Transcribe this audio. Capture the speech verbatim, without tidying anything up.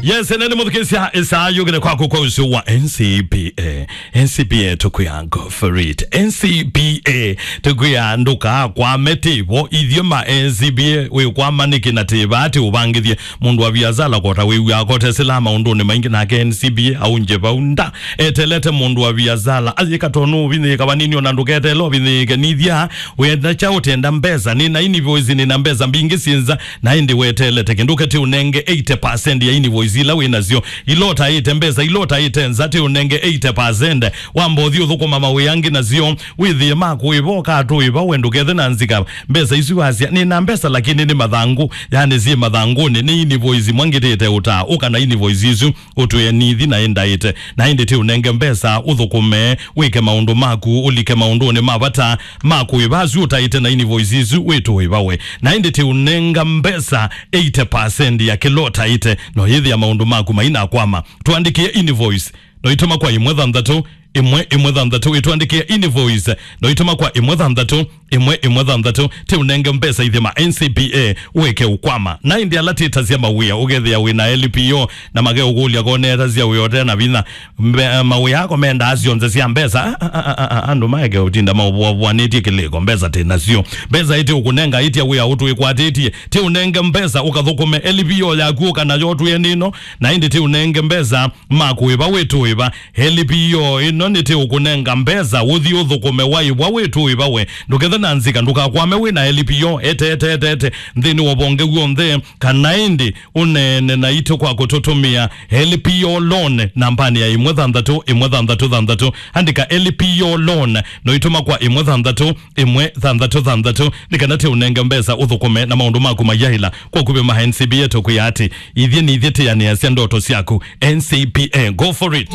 Yes, ene nĩ mũthukĩsya ĩsaa yũkĩte kwaku kwa ũsio wa N C B A. N C B A tũkwĩa go for it. N C B A tũkwĩa ndũkakwame tĩvo ithyĩ ma N C B A wĩkwama nĩkĩ na tĩva atĩ ũvangĩthye mũndũ wa viasala kota wĩw'aa kote sila maũndũnĩ maingĩ nake N C B A aunje vau nda. Etelete mũndũ wa viasala ayĩka tonũ ũvinyĩĩka vanini ona ndũketele ũvinyĩĩke nithya wenda kya ũtenda mbesa nĩ na invoice nĩ na mbesa mbingĩ syĩnza na ĩndĩ wetelete kĩndũ kete ũnenge eighty percent ya invoice ila wĩ nasyo ila ũtaĩte mbesa ila ũtaĩte nza te ũnenge eighty percent wamba ũthi ũthũkũma mawĩa angĩ nasyo wĩthĩe makũĩva ũkatũĩva we ndũkethe na nzika mbesa isu wasya nĩ na mbesa lakini nĩ mathangũ yani syĩ mathangũnĩ nĩ invoice mwangĩtĩte ũtaa ũka na invoice isu ũtwĩe nithi na ĩndaĩte na ĩndĩ ti ũnenge mbesa ũthũkũme wĩke maũndũ maku ũlike maũndũnĩ ma vata ma kũĩva asu ũtaĩte na invoice isu wĩtũĩva we na ĩndĩ ti ũnenga mbesa eighty percent ya kĩla ũtaĩte no yĩthĩa maũndũ maku mainakwama tũandĩkĩe invoice no itũma kwa ĩmwe thanthatũ ĩmwe ĩmwe thanthatũ ĩtũandĩkĩe invoice no itũma kwa ĩmwe thanthatũ ĩmwe ĩmwe thanthatũ ti ũnenge mbesa ithyĩ ma N C B A wĩke ũkwama na ĩndĩ ala tĩtasya mawĩa ũkethĩa wĩ na L P O na makeũkũlya konetasya wĩ ote na vinya Mbe- mawĩa ako mendaa syonthe sya mbesa A- a- a- a- a- andũ maeke ũtinda maũvũavũanĩtye kĩlĩko mbesa tĩ nasyo mbesa ĩtĩ ũkũnenga ĩtya wĩa ũtwĩkwatĩtye ti ũnenge mbesa ũkathũkũme L P O yaku ũka nayo ũtwĩe nĩno na ĩndĩ ti ũnenge mbesa makũĩva wĩtũĩva L P O ĩno nĩtĩ ũkũnenga mbesa ũthi ũthũkũme waĩvwa wĩtũĩva we ndũkethe na nzika ndũkakwame wĩ na L P O eteeteetete nthĩnĩ wa vonge w'onthe kana ĩndĩ ũneene naitũ kwa kũtũtũmĩa L P O loan nambanĩ ya ĩmwe thanthatũ ĩmwe thanthatũ thanthatũ andĩka L P O loan no itũma kwa ĩmwe thanthatũ ĩmwe thanthatũ thanthatũ nĩ kana tĩ ũnenge mbesa ũthũkũme na maũndũ maku mayaĩla kwa kuvĩ ma N C B A tũkwĩa atĩ ithyĩ nĩ ithyĩ tĩanĩasya ndoto syaku N C B A go for it